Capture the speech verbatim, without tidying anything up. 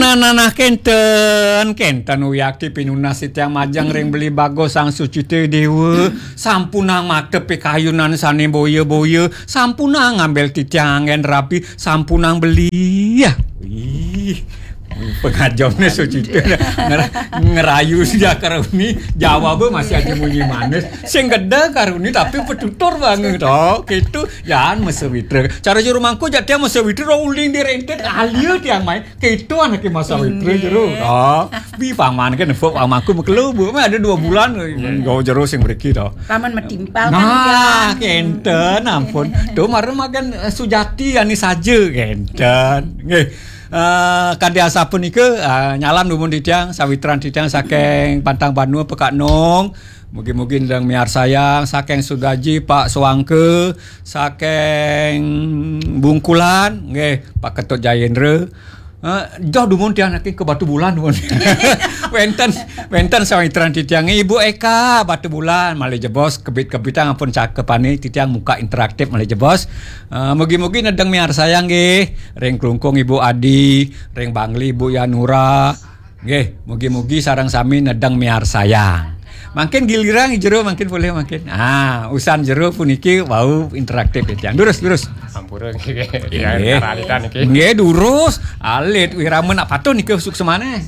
Nah, nah, nah, kenten, kenten wiakti pinunas titiang majeng ring Beli Bagos Sang Sucita Dewa. Sampunang mata pikayunan sane boya-boya, sampunang ngambil titiang anggen rapi, sampunang beli. Ya. Ih, pengajamnya Sucita nger- ngerayu sejak karuni, jawabnya masih aja munyi manis. Sing gede karuni tapi petutur banget. Oh, gitu. Yan mesewitra. Cara juru mangku jak tiang mesewitra uling direntet alia tiang main. Keto anake Mas Sawitri jero. Oh, bi paman kan nepuk pamanku mekelu, Bu. Meh ada dua bulan. Nggo jero sing mriki to. Paman metimpal kan. Nah, kenten ampun. Tuh mara makan eh, Sujati ani saja kenten. Nggih. Eh, kadi asapunika eh, nyalam dumun titiang sawitran titiang saking Pantang Banua Pekak Nong. Mugi-mugi ndang miarsayang saking Sudaji Pak Suangke, saking Bungkulan nggih Pak Ketut Jayendra. Eh, joh dumun tiang niki ke Batu Bulan dumun. wenten wenten sawitran titiang Ibu Eka Batu Bulan malih jebos kebit-kebitang ampun cakepane titiang muka interaktif malih jebos. Eh, mugi-mugi nedeng miarsayang nggih ring Klungkung Ibu Adi, ring Bangli Ibu Yanura. Nggih, mugi-mugi sareng sami nedeng miarsayang. Mangkin giliran jero mangkin boleh mangkin. Ah, usan jero puniki wau interaktif ya, Tiang. Durus, durus. Ampura nggih. Nggih. Karalitan niki. Nggih, durus. Alit wirama nak patut niki suksemane.